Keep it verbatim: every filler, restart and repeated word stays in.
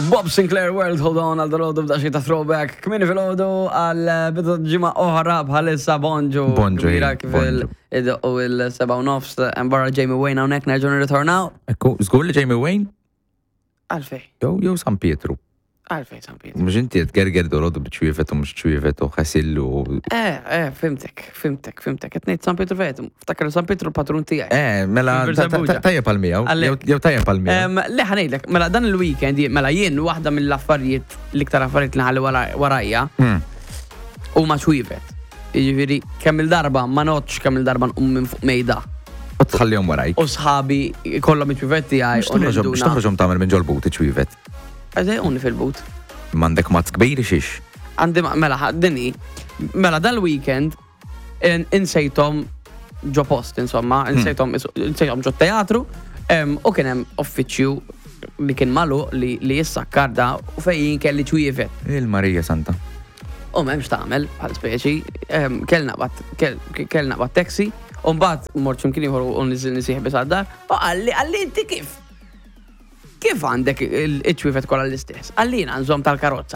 Bob Sinclair World, hold on għal dal-għodu b'daqsxejn ta' throwback. Kmieni filgħodu għal bidu ġimgħa oħra bħalissa bonġu. Bonġu, Kbira ej, kif bonġu. il- u il-seba u nofs, barra Jamie Wayne hawnhekk nerġgħu nirritornaw. Ekku, żgur li Jamie Wayne? Għalfej, Jew jew San Pietru. Għalfej San Pietru. Mhux inti qed gerger dolodu b'ċwievet u mhux ċwievet u ħasillu. Eh, eh, fhimtek, fhimtek, fhimtek. Qed ngħid San Pietru fejt, ftakar San Pietru l-patrun tiegħi. Eh, mela Fil Birżebbuġa. tajjeb għal miegħu. Għalhekk. Jew tajjeb għal miegħu. Em, Le ħa ngħidlek, mela dan il-weekend, mela jien waħda mill-affarijiet, l-iktar affarijiet li ħalli wara- warajja, Hmm. huma ċwievet. Jiġifieri kemm il-darba ma noqgħodx kemm il-darba nqum minn fuq mejda. U tħallihom warajk. U sħabi kollhom iċ-ċwievet tiegħi Mhux u toħroġhom mhux ninduna. toħroġhom tagħmel minn ġol-but iċ-ċwievet. Għażejquni fil-but. M'għandek mazz kbir xiex. Għandi ma- mela ħa- dini, mela dal-weekend in- insejthom ġo post, insomma, insejthom insejthom ġo teatru, em, u kien hemm uffiċċju li kien magħluq li li jissakkar da u fejn kelli ċwievet. Il-Marija Santa. U m'hemmx tagħmel bħal speċi, em, kell naqbad kell kell naqbad taxi, u mbagħad mort x'imkien ieħor u niżilni sieħbi sad-dar, u qalli qalli inti kif? Kif għandek il-ċwievet kollha l-istess? Qalli jiena nżomm tal-karozza.